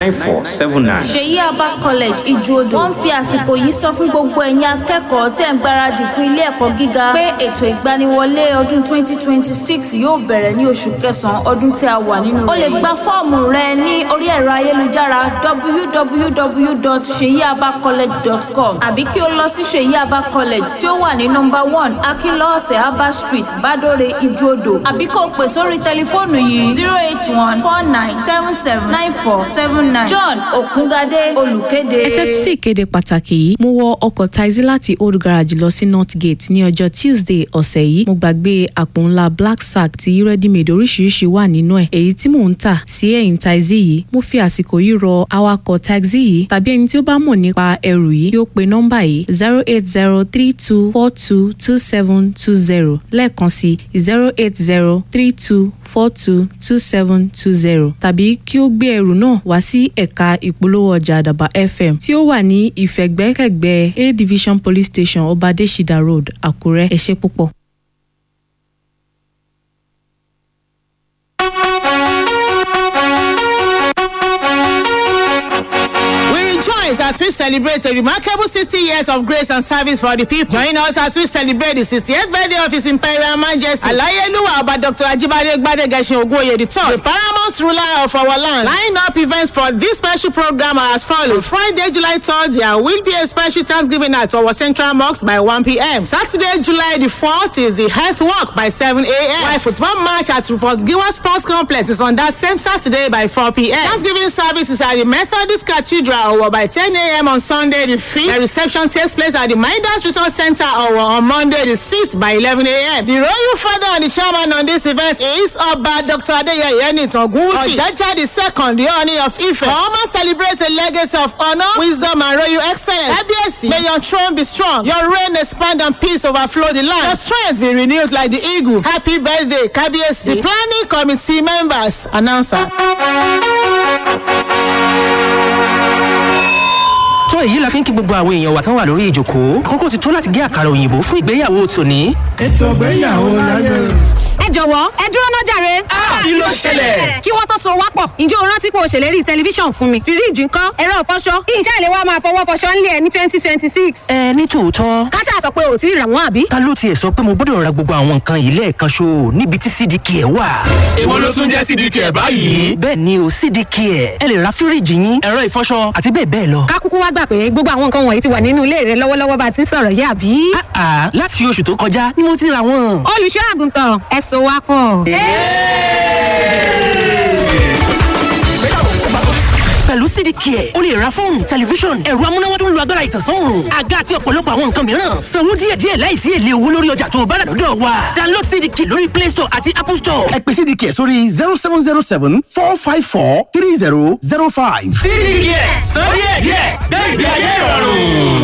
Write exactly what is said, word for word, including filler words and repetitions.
nine four seven nine. Ṣèyí Abba College Ìjùodò wọ́n ń fi àsìkò yìí sọ fún gbogbo ẹ̀yin akẹ́kọ̀ọ́ tẹ̀ ń gbáradì fún ilé ẹ̀kọ́ gíga pé ètò ìgbaniwọlé ọdún twenty twenty six yóò bẹ̀rẹ̀ ní oṣù kẹsàn-án ọdún tí a wà nínú rẹ̀. O lè gba fọ́ọ̀mù rẹ ní orí ẹ̀rọ ayélujára w w w dot seyiabacollege dot com àbí kí o lọ sí Ṣèyí Abba College tí ó wà ní nọ́mbà one Akínlọ́ọ̀sẹ̀ Abba Street, Bádóre, Ìjùodò, àbí kó o pè sórí tẹlifóònù yìí zero eight one four nine seven seven nine four seven nine. John Ògúngadé olùkéde. Ẹ tẹ́tí sí ìkéde pàtàkì yìí. Mo wọ ọkọ̀ taxi láti Old Garage lọ sí North Gate ní ọjọ́ Tuesday ọ̀sẹ̀ yìí. Mo gbàgbé àpò ńlá black sack tí ready-made oríṣiríṣi wà nínú ẹ̀, èyí tí mò ń tà sí ẹ̀yìn taxi yìí. Mo fi àsìkò yìí rọ awakọ̀ taxi yìí tàbí ẹni tí ó bá mọ̀ nípa ẹrù yìí kí ó pe nọ́mbà yìí zero eight zero three two four two two seven two zero, lẹ́ẹ̀kan sí zero eight zero three two four two two seven two zero, tàbí kí ó gbé ẹrù náà wá sí ẹ̀ka ìpolówó ọjà Àdàbà F M tí ó wà ní ìfẹ̀gbẹ́kẹ̀gbẹ́ A Division Police Station, Ọbadẹ́sídà Road, Àkúrẹ́. Ẹ ṣé púpọ̀. We rejoice as we celebrate a remarkable sixty years of grace and service for the people. Join us as we celebrate the sixtieth birthday of His Imperial Majesty Alayeluwa Oba Doctor Ajibade Gbadegeshin Ogunoye the Third, the paramount ruler of our land. Line up events for this special program are as follows. Friday, July third, there will be a special Thanksgiving at our Central Mosque by one p m. Saturday, July the fourth is the health walk by seven a m. While football match at Rufus Giwa Sports Complex is on that same Saturday by four p m. Thanksgiving service is at the Methodist Cathedral Owo by ten a m on Sunday the fifth. The reception takes place at the Midas Resource Center Owo on Monday the sixth by eleven a m. The royal father and the chairman on this event is Oba Doctor Adeyeye Enitan Ogunwusi, Ojaja the second, the Ooni of Ife. Oma celebrates a legacy of honor, wisdom and royal excellence. Kábíyèsí, may your throne be strong, your reign expand and peace overflow the land. Your strength be renewed like the eagle. Happy birthday, Kábíyèsí. The planning committee members, announcer. Tó èyí la fi ń kí gbogbo àwọn èèyàn wa tán wà lórí ìjòkó. Àkókò ti tó láti gé àkàrà òyìnbó fún ìgbéyàwó tòní. Ètò ìgbéyàwó láyé. Ẹ jọ̀wọ́, ẹ dúró ná jàre. Kí ló ṣẹlẹ̀? Kí wọ́n tó so wá pọ̀, ǹjẹ́ o rántí pé o ṣèlérí tẹlifíṣàn fún mi? Fíríìjì ńkọ́? Ẹ̀rọ ìfọṣọ? Iṣẹ́ ìléwá máa fọwọ́ fọṣọ ńlẹ̀ ẹ̀ ní twenty twenty six. Ẹ ní tòótọ́. Káṣá sọ pé ò tí ì rà wọ́n, àbí? Ta ló tiẹ̀ sọ pé mo gbọ́dọ̀ ra gbogbo àwọn nǹkan yìí lẹ́ẹ̀kan ṣo níbi tí C D K ẹ̀ wà? Èwo ló tún jẹ́ C D K ẹ̀ báyìí? Bẹ́ẹ̀ ni o, C D K ẹ̀. Ẹ lè ra fíríìjì yín, ẹ̀rọ ìfọṣọ àti bẹ́ẹ̀ bẹ́ẹ̀ lọ. Ká kúkú wá gbà pé gbogbo àwọn nǹkan wọ̀nyí ti wà nínú ilé rẹ lọ́wọ́lọ́wọ́ bá a ti ń sọ̀rọ̀ yìí, àbí? Àà, láti oṣù tó kọjá ni mo ti ra wọn. Olùṣọ́ àgùntàn, ẹ so wá pọ̀. Pẹ̀lú C D K ẹ̀, o lè ra fóònù, tẹlifíṣọ̀n, ẹ̀rọ amúnáwá tó ń lo agbára ìtànsán òòrùn, àga àti ọ̀pọ̀lọpọ̀ àwọn nǹkan mìíràn. Sanwó díẹ̀díẹ̀ láìsí èlé owó lórí ọjà tó o bá rà lọ́dọ̀ wa. Download C D K lórí Play Store àti Apple Store. Ẹ pè C D K sórí zero seven zero seven four five four three zero zero five. C D K, sọ díẹ̀díẹ̀, gbé ìgbé ayé ìrọ̀rùn.